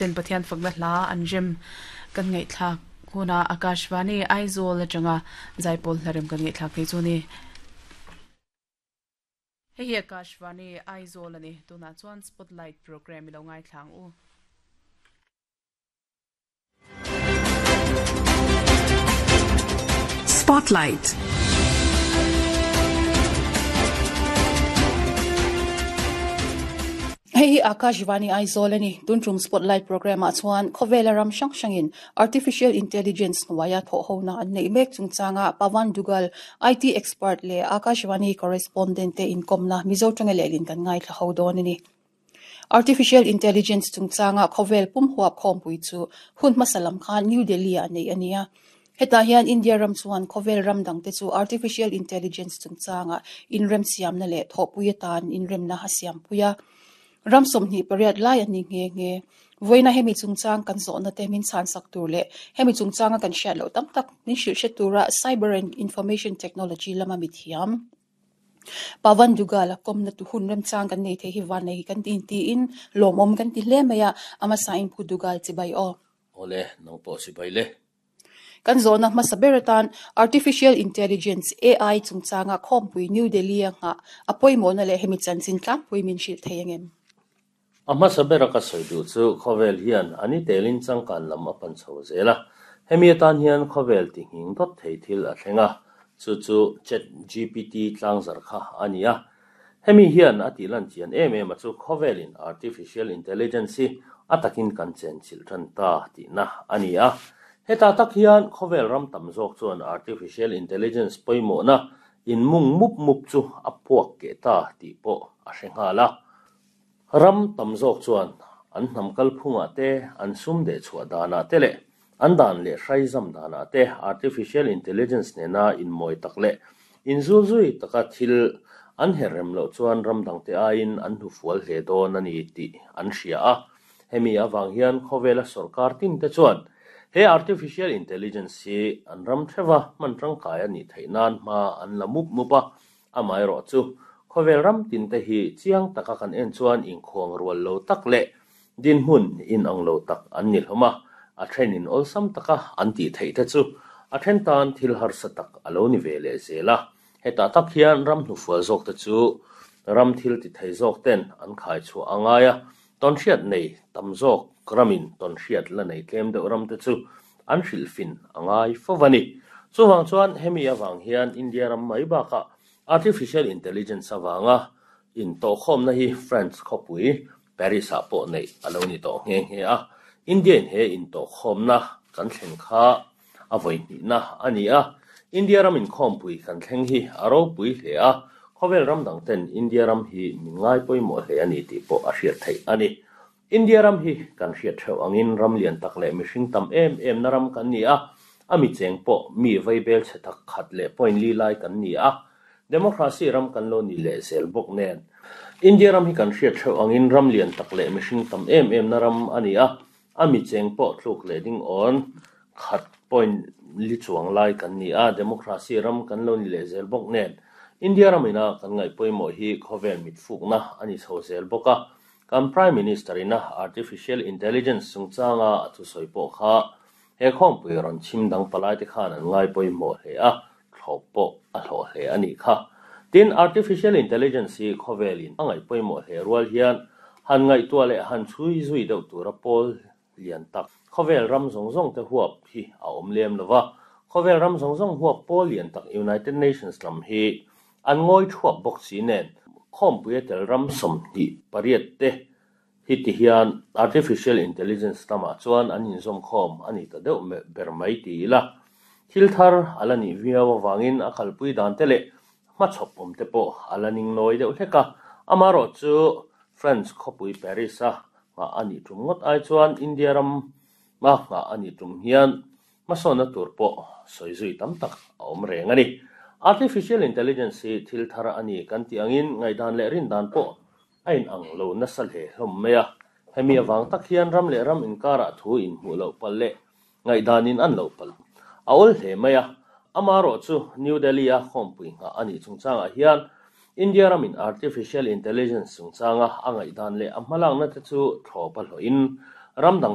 Ten Pathian fakna hla an rem kan ngaihthlak hunah Akashvani Aizawl atanga zaipawl hla rem kan ngaihthlak phei chu a ni. Hei hi Akashvani Aizawl a ni. Tunah chuan Spotlight program i lo ngaithla ang u. Spotlight. Hei hi Akashvani Aizawl a ni. Tun tum Spotlight Programme ah chuan khawvela ram hrang hrangin Artificial Intelligence hnuaia thawhhona an neih mek chungchanga Pawan Duggal, IT expert leh Akashvani correspondent te inkawmna Mizo tanga lehlin kan ngaithla ho dawn a ni. Artificial Intelligence chungchanga khawvel pum huap khawmpui chu hun hmasa lam khan New Delhi ah neih a ni a. Hetah hian India ram chuan khawvel ram dangte chu Artificial Intelligence chungchanga inremsiamna leh thawhpui atan inremna a siampui a. Ram 28 lai an ni nghe nghe. Vawiina hemi chungchang kan zawhna te min chhansak tur leh hemi chungchanga kan hriat loh tam tak min hrilh hre tura Cyber and Information Technology lama mithiam Pawan Duggal a kawmna tu hun remchang kan nei thei hi van nei hi kan ti intiin lawmawm kan ti hle mai a, a hmasa in Pu Duggal chibai aw. Awle, nang pawh chibai le. Kan zawhna hmasa ber atan Artificial Intelligence, AI, chungchanga khawmpui New Delhi a nghah a pawimawhna leh hemi chanchin tlangpui min hrilh thei angem? A hmasa bera ka sawi duh chu khawvel hian a ni telin changkan lam a pan chho zel a, hemi atan hian khawvel ti nghing dawt thei thil a thleng a, chu chu Chat GPT tlangzar kha a ni a. Hemi hian a tih lan chian em em a chu khawvelin Artificial Intelligence hi a takin kan chenchilh tan ta tihna a ni a. Heta tak hian khawvel ram tam zawk chuan Artificial Intelligence pawimawhna inmung mup mup chu a puak keh ta tih pawh a hre nghal a. Ram tam zawk chuan an hnam kalphungah te, an sum deh chhuah danah te leh an dan leh hraizam danah te artificial intelligence nena inmawi tak leh inzulzui taka thil an her rem loh chuan ram dangte aiin an hnufual hle dawn a ni tih an hria a. Hemi avang hian khawvela sawrkar tin te chuan he artificial intelligence hi an ram theuha hman tangkai a nih theih nan hma an la mup mup a, Amaherawh chu, khawvel ram tin te hi chiang taka kan en chuan inkhuang rual lo tak leh dinhmun inang lo tak an ni hlawm a, a thenin awlsam taka an tih theih te chu a then tan thil harsa tak a lo ni ve leh zel a. Hetah tak hian ram hnufual zawk te chu ram thil ti thei zawk ten an khai chhuah a ngai a, tawnhriat nei tam zawk ramin tawnhriat la nei tlem deuh ram te chu an hrilhfin a ngai fo a ni. Chuvang chuan hemi avang hian India ram mai bakah Artificial Intelligence avanga intawhkhawmna hi France khawpui Paris-ah pawh neih a lo ni tawh nghe nghe a. India-in he intawhkhawmna kan thlen kha a vawi hnihna a ni a. India ram inkhawmpui kan thleng hi a ropui hle a, khawvel ram dangten India ram hi min ngai pawimawh hle a ni tih pawh a hriat theih a ni. India ram hi kan hriat theuh angin ram lian tak leh mihring tam em em na ram kan ni a, a mi cheng pawh mi vaibel chhe tak khat leh point li lai kan ni a, Democracy ram kan lo ni leh zel bawk nen. India ram hi kan hriat theuh angin ram lian tak leh mihring tam em em na ram a ni a, a mi cheng pawh tluk leh ding awn khat point li chuang lai kan ni a, Democracy ram kan lo ni leh zel bawk nen. India ram ina kan ngaih pawimawh hi khawvel mitfukna a ni chho zel bawk a, Kan Prime Minister ina Artificial Intelligence chungchanga a thusawi pawh kha he khawmpui rawn chhim dang palaite khan an ngai pawimawh hle a, thlawp pawh a hlawh hle a nih kha. Tin, Artificial Intelligence hi khawvelin a ngaih pawimawh hle rual hian han ngaihtuah leh han chhui zui deuh tura pawl lian tak khawvel ram zawng zawng te huap hi a awm lem lo va, khawvel ram zawng zawng huap pawl lian tak United Nations lam hi an ngawi thuap bawk si nen khawmpui a tel ram 28 te hi ti hian Artificial Intelligence lamah chuan an inzawm khawm a ni ta deuh ber mai ti ila thil thar a la nih viau avangin a kalpui dan te leh hmachhawp awm te pawh a la ning nawi deuh hlek a, amaherawhchu France khawpui Paris a nghah a nih tum ngawt ai chuan India ram a nghah a nih tum hian hmasawnna tur pawh sawi zui tam tak a awm reng a ni. Artificial Intelligence hi thil thar a ni kan tih angin ngaihdan leh rindan pawh a inang lo nasa hle hlawm mai a. Hemi avang tak hian ram leh ram inkarah thu inhmuh loh palh leh ngaihdanin an lo palh a awl hle mai a. Amaherawh chu New Delhi-a khawmpui nghah a nih chungchangah hian India ramin Artificial Intelligence chungchanga a ngaihdan leh a hmalakna te chu thlawp a hlawhin Ram dang.